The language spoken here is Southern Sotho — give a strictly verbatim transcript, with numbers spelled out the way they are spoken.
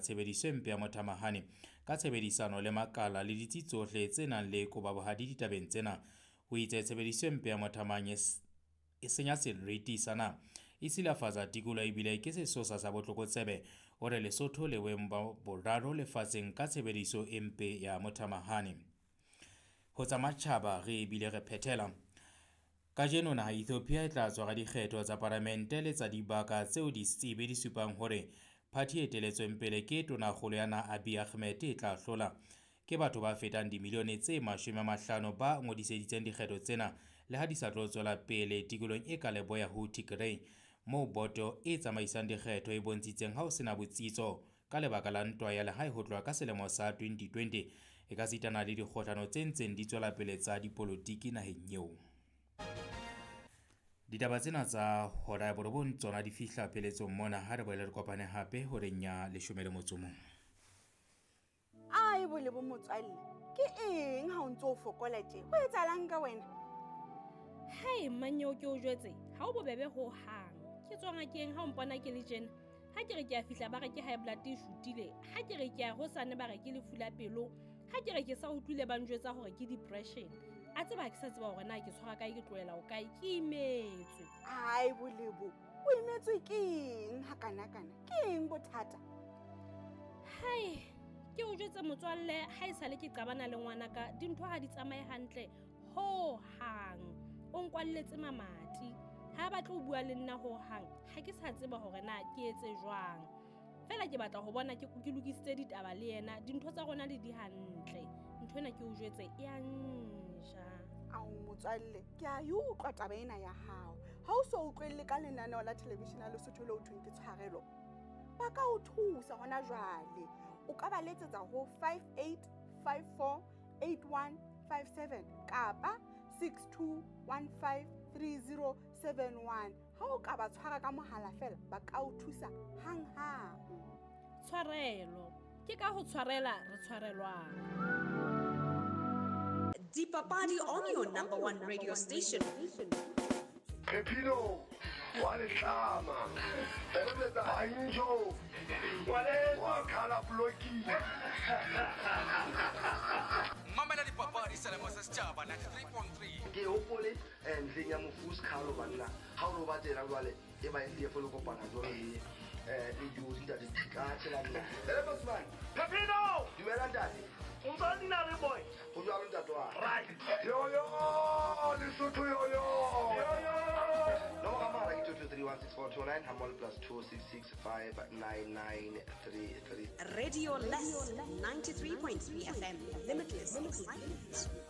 tshebediso e mpe ya mothamahane ka tshebedisano le makala le ditsi tsohle tse nang le kobabohadi ditabeng tsena. O itse tshebediso e mpe ya mothamahane e senya seriti sa naha, e silafatsa tikoloho ebile ke sesosa sa botlokotsebe. O re Lesotho le boemong ba boraro lefatsheng ka tshebediso e mpe ya mothamahane. Ho tsa matjhaba re bile re phethela. Kajeno naha Ethiopia e tla tshwara dikgetho tsa palamente le tsa dibaka tseo ditsebi di supang hore phathi e eteletsweng pele ke tonakgolo ya naha Abiy Ahmed e tla hlola. Ke batho ba fetang dimilione tse mashome a mahlano ba ngodiseditseng dikgetho tsena le ha di sa tlo tswela pele tikolohong e ka leboya ho Tigray, moo boto e tsamaisang dikgetho e bontshitseng ha ho sena botsitso ka lebaka la ntwa ya lehae ho tloha ka selemo sa twenty twenty e ka sitana le dikgohlano tse ntseng di tswela pele tsa dipolotiki naheng eo. Ditaba tsena tsa hora ya borobong tsona di fihla pheletsong mona. Ha re boele re kopane hape horeng ya leshome le motso o mong. Ai bole bo motswalle, ke eng ha o ntso o fokola tje? Ho etsahalang ka wena? Hai mmanyeo ke o jwetse, ha o bobebe ho hang. Ke tswa ngakeng ha o mpona ke le tjena. Ha ke re ke a fihla ba re ke high blood e shutile, ha ke re ke a hosane ba re ke lefu la pelo, ha ke re ke sa utlwile ba njwetsa hore ke depression. A tseba ha ke sa tseba hore na ke tshwara kae, ke tlohela ho kae, ke imetswe. Ai bolebo, o imetswe ke eng hakanakana? Ke eng bothata? Hai, ke o jwetse motswalle, ha e sale ke qabana le ngwanaka, dintho ha di tsamaye hantle ho hang. O nkwalletse mamati, ha ba tlo bua le nna ho hang, ha ke sa tseba hore na ke etse jwang. Fela ke batla ho bona ke ke lokisitse ditaba le yena, dintho tsa rona le di hantle. Ntho ena ke o jwetse e a nja. Ao motswalle, ke a e utlwa taba ena ya hao. Ha o so utlwelle ka lenaneo la television la Lesotho leo thweng ke Tshwarelo, ba ka o thusa hona jwale. O ka ba letsetsa ho five eight five four eight one five seven kapa six two one five three zero seven one. Ha o ka ba tshwara ka mohala fela, ba ka o thusa hanghang. Tshwarelo, ke ka ho tshwarela re tshwarelwang. Dipapadi on your number one radio station. Pepino wa letlama, Banjo wa khala bloki. Mamela dipapadi selemo sa setjhaba ninety-three point three. Ke hopole ntleng ya mofu Skhalo banna. Ha o lo ba tsela jwale e ba e folo kopana jwale le eh le dijo ntate ka tshela nna. Ele Bosman. Pepino! Dumela ntate. O ntse o nna le boy. Ho jwalo ntate wa. Right. Yo yo, Lesotho yo yo. Yo yo. Nomoro ya mohala ke two two three one six four two nine hammoho le plus two six six five nine nine three three. Radio Less ninety-three point three F M. Limitless excitement.